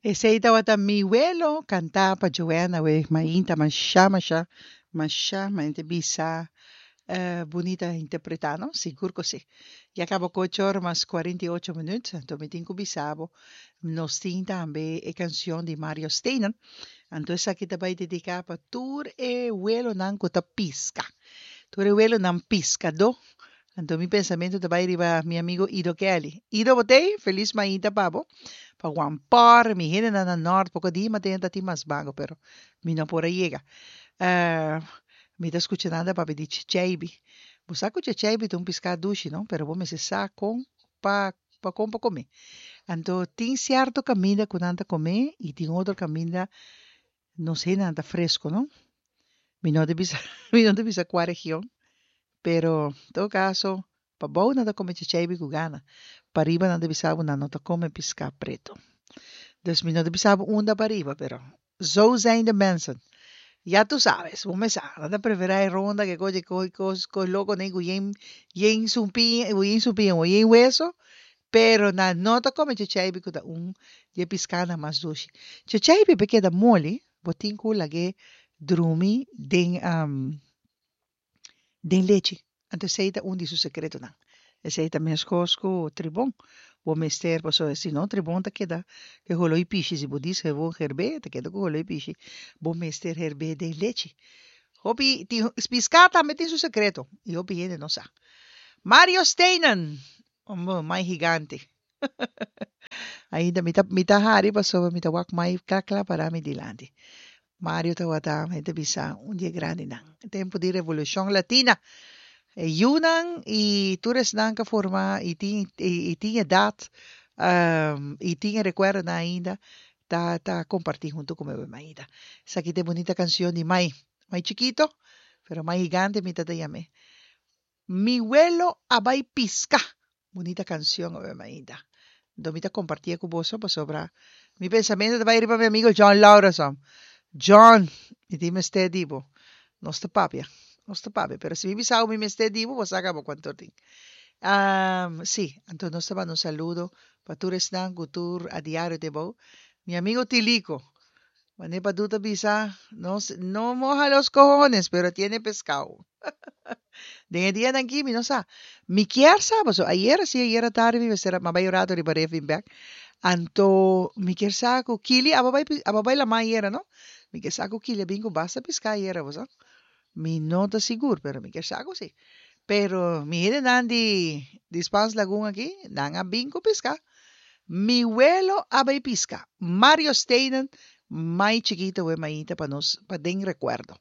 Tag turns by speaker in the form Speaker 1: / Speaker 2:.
Speaker 1: Esei tabata Mi Welo kantá pa Joanna we mainta masha masha masha mente bisa bunita interpretá no sigur ku si. Ya kaba ku ocho ora mas 48 minuut anto mi tin ku bisa bo nos tin tambe e kanshon di Mario Steinen anto esaki ta bai dediká pa tur e welonan ku ta piska tur e welonan piskadó Anto mi pensamentu ta bai riba mi amigo Ido Kelly. Ido bo t'ei? Felis mainta pa bo. Pa Juan Por, mi hendenan na Nort, poko di maten ta tin mas bango, pero mi no por a yega. Mi ta skucha nan ta papia di checheibi. Bo sa ku checheibi ta un piská dushi, no? Pero bo mester sa kon pa pa kon pa kom'é. Anto tin sierto kaminda ku nan ta kom'é i tin otro kaminda nos hendenan ta fresco, no? Mi no ta bisa mi no ta bisa kua region, pero en todo caso pabou nan ta come chachaibi cu gana, pariba nan ta bisa bo nan no ta come pisca preto. Dus mi no ta bisa bo unda pariba, pero zo zijn de mensen. Ya tu sabes, bo mes sa, nan ta prefera e ronda ke kochi kos kos kos loco nen cu yen yen sumpiña, yen sumpiña, yen hueso, Pero nan no ta come chachaibi cu ta un di e piscanan mas dushi. Chachaibi pa e keda moli, bo tin cu lag'e drumi den den lechi. Anto esey ta un di su secretonan. Esey ta mescos cu tribon. Bo mester, pasobra si no tribon ta keda cu e holo y pishi. Si bo dis gewoon herbe, ta keda cu holo y pishi. Bo mester herbe den lechi. Hopi tin, pisca tambe tin su secreto y hopi hende no sa. Mario Steinen, Homber, mai gigante. Ainda mi ta mi ta hari pasobra mi ta wak mai kla kla para mi dilanti. Mario tabata mi ta bisa un di e grandinan. E tempu di Revolushon Latina. E yunan i tur esnan ku a forma i tin i tin edat i tin e rekuerdonan ainda ta ta kompartí huntu ku mi ainda. Esaki ta e bunita kanshon di mai. Mai chikito pero mai gigante mi ta ta yam'é. Mi welo a bai pisca. Bunita cancion awe mainta. Anto mi ta compartie cu boso pasobra mi pensamento ta bai riba mi amigo John Laureson. John, mi tin mester di bo. Nos ta papia, nos ta papia. Pero si mi bisa bo mi mester di bo, bo sa caba cuanto tin. Sí, anto nos ta manda un saludo pa tur esnan cu tur a diario te bou. Mi amigo Tilico, Mane Padu ta bisa, no, no moja los cojones, pero tiene pescao. Den e dianan aki mi no sa. Mi kier sa pasobra ayera si ayera tardi mi mester a bai un rato riba ref bin bek. Anto mi kier sa ku Kili aba bai aba bai laman ayera no. Mi kier sa ku Kili a bin ku basta piská ayera bo sa. Mi no ta sigur pero mi kier sa ku si. Pero mi hendenan di di Spaans Lagoon aki nan a bin ku piská. Mi welo a bai piska. Mario Steinen mai chikito we mainta pa nos pa den rekuerdo.